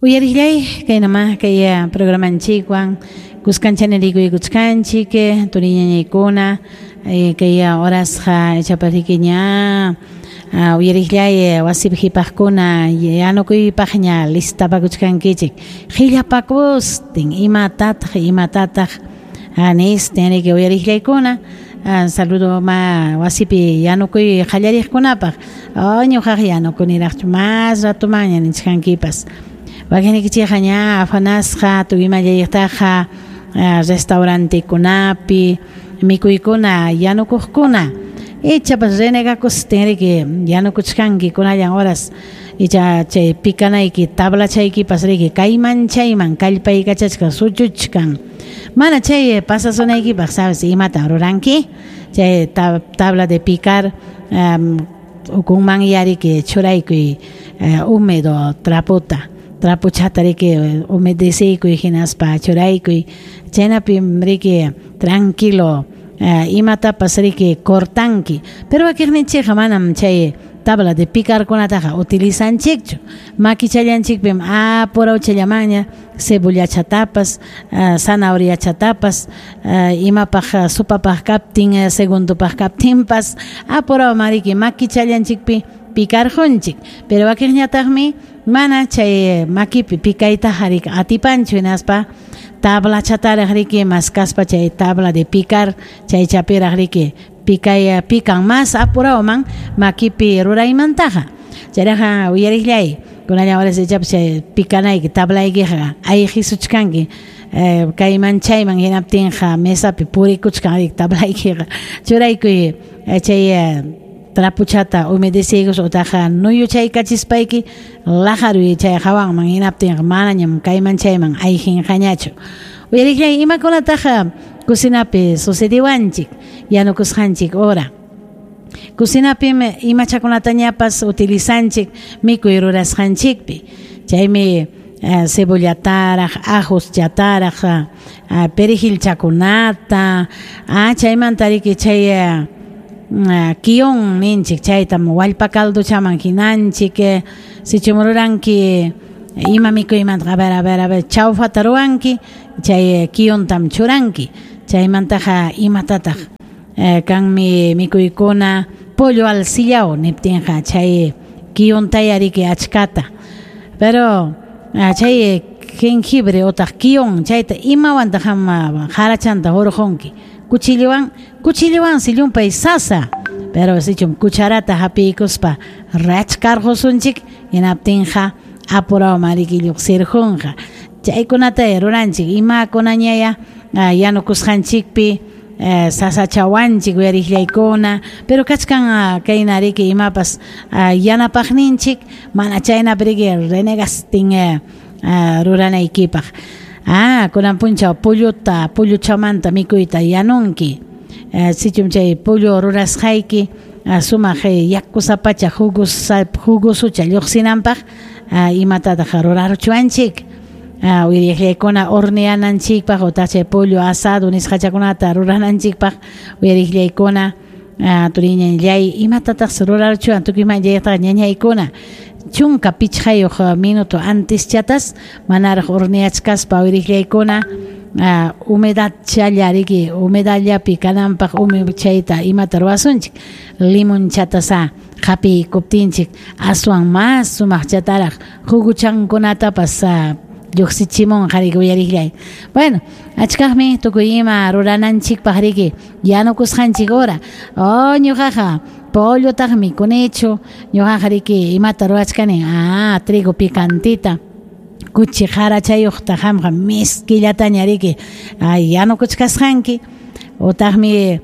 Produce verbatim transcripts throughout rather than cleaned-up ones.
Uyariqllay kaynama kay programanchikwan kuskanchani rikuykuchkanchik turiñañaykuna kay horasqa ichapas ña uyariqllay wasipi qhipaqkuna yanukuypaqña listapakuchkankichik qillapakustin imatataq imatataq nistin riki uyariqllaykuna. Saludo ma wasipi yanukuy qallariqkunapaq ñuqaq yanukuniraqchu mas ratumanña nichkankipas. Wakinnikichikqa ña afanasqa tukuy imallaytaqa restaurantekunapi mikuykuna yanukuqkuna ichapas renegakustin riki yanukuchkanki kunallan horas icha chay pikanayki tablachaykipas riki kayman chayman kallpaykachachkan suchuchkan mana chay pasasunaykipaq sabes imatan ruranki chay tabla de picar um, ukunman yariki churaykuy uh, húmedo trapota trapuchata riki humedeciykuy hinaspa churaykuy chaynapi riki tranquilo uh, imatapas riki cortanki pero wakiqninchikqa manam chay tabla de picarkunataqa utilizanchikchu makichallanchikpim apurawchallamaña cebollachatapas uh, zanahoriachatapas uh, imapaq uh, supapaq kaptin uh, segundopaq kaptinpas apurawman riki makichallanchikpi picarjunchik pero wakiqñataqmi mana chay makipi pikaytaqa riki atipanchu hinaspa tablachataraq riki maskaspa chay tabla de picar chay chapiraq riki pikay pican mas apurawman makipi ruraymantaqa chayraqa uyariqllay kunallan horas ichapas chay pikanayki tablaykiqa ayqisuchkanki eh, kayman chayman hinaptinqa mesapi purikuchkan riki tablaykiqa churaykuy chay trapuchata humedeciykus utaqa nuyuchaykachispayki laqaruy chay hawanman hinaptinqa manañam kayman chayman ayqinqañachu. Uyariqllay imakunataqa cocinapi sucediwanchik yanukusqanchik hora cocinapim imachakunatañapas utilizanchik mikuy rurasqanchikpi chaymi uh, cebollataraq ajuschataraq uh, perejilchakunata ah, chaymanta riki chay uh, Uh, kion ninchik chaytam wallpa caldochaman hinanchik sichum ruranki ima mikuymanta a ver a ver a ver chawfata ruwanki chay kiontam churanki chaymantaqa imatataq uh, kanmi mikuykuna pollo al sillao niptinqa chay kiontaya riki achkata pero uh, chay jengibre otaq kion chayta imawantaq harachanta hurqunki cuchillowan cuchillowansi llumpay sasa pero sichum cucharata hapiykuspa rachkarqusunchik hinaptinqa apurawman riki lluqsirqunqa chaykunata ruranchik imakunañaya yanukusqanchikpi eh, sasachawanchik uyariqllaykuna pero kachkan kayna riki imapas yanapaqninchik mana chaynapi riki renegastin eh, ruranaykipaq. Ah, kunan punchaw polluta, polluchamanta mikuyta yanunki. Eh, sichum chay pollo rurasqayki sumaq yakusapacha jugosa jugosucha lluqsinanpaq imatataq ruraruchwanchik. Ah, uyariqllaykuna horneananchikpaq utaq chay pollo asado nisqachakunata rurananchikpaq uyariqllaykuna turiñanllay imatataq ruraruchwan tukuymanllaytaqa ñañaykuna chunka pichqayuq minuto antes chatas manaraq horneachkaspa uyariqllaykuna humedad challa riki humedadllapi kananpaq umi chayta imata ruwasunchik limon chatasa hapiykuptinchik aswan mas sumaq chataraq juguchankunatapas lluqsichimunqa riki uyariqllay. Bueno, achkaqmi tukuy ima rurananchikpaq riki yanukusqanchik hora oh ñuqaqa pollotaqmi mikunichu ñuqaqa riki imata ruwachkani ah trigo picantita kuchi harachayuqta qamqa miskillataña riki ay yanukuchkasqanki utaqmi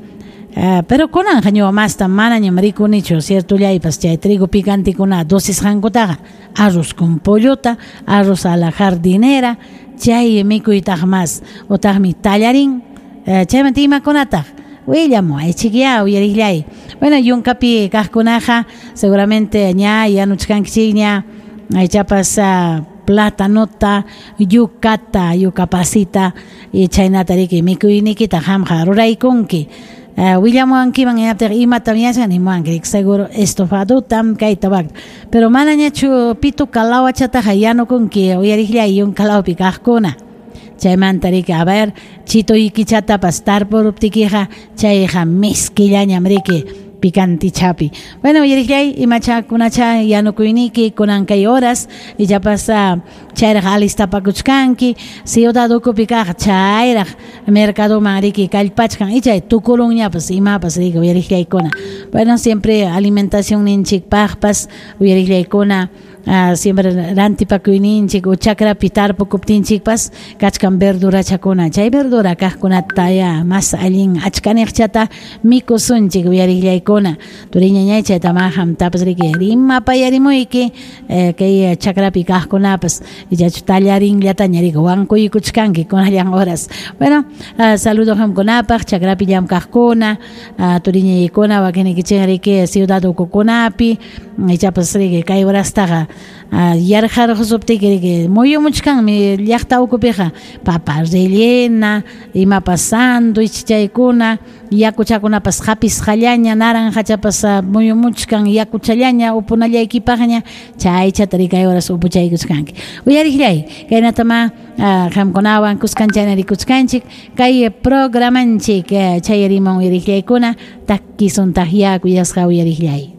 uh, pero kunanqa ñuqa masta manañam rikunichu ciertollaypas chay trigo picantikuna dosisqankutaqa arroz con pollota arroz a la jardinera chay mikuytaq mas utaqmi tallarín uh, chaymanta imakunataq willamuwaychikya uyariqllay. Bueno, yunkapi kaqkunaqa seguramente ña yanuchkankichikña ichapas uh, platanota, yucata, yucapasita y chaynata riki mikuynikita qamqa ruraykunki. Willamuwankiman hinaptiqa imatam yachan nimuwanki seguro estofadutam kayta wakta pero manañachu pituka lawachataqa yanukunki uyariqllay yunkalawpi kaqkuna chaymanta riki a ver chituykichatapas tarpuruptikiqa chayqa miskillañam riki picantichapi. Bueno, uyariqllay imachakunacha yanukuyniki kunan kay horas ichapas chayraq alistapakuchkanki ciudad ukupi kaq chayraq mercadoman riki kallpachkan ichay tukurunñapas imapas riki uyariqllaykuna. Bueno, siempre alimentación ninchikpaqpas uyariqllaykuna Uh, siempre rantipakuyninchik o chakrapi tarpukuptinchikpas kachkan verdurachakuna chay verdura kaqkunata ya mas allin achkaniqchata mikusunchik uyariqllaykuna turiñañay chayta qamtapas riki rimapayarimuyki eh, kay chakrapi kaqkunapas ichachu tallarinllataña riki wankuykuchkanki kunallan horas. Bueno, uh, saludo qamkunapaq chakrapi llamkaqkuna uh, turiñaykuna wakinnikichik riki ciudad ukukunapi ichapas riki kay horastaqa yarqarqusuptiki riki muyumuchkanmi llaqta ukupiqa papa rellena imapas sándwich chaykuna yakuchakunapas hapisqallaña naranjachapas muyumuchkan yakuchallaña upunallaykipaqña chaychata riki kay horas upuchaykuchkanki uyariqllay kaynatama qamkunawan kuskanchayna rikuchkanchik kay programanchik chayarimun uyariqllaykuna takisuntaqya kuyasqa uyariqllay.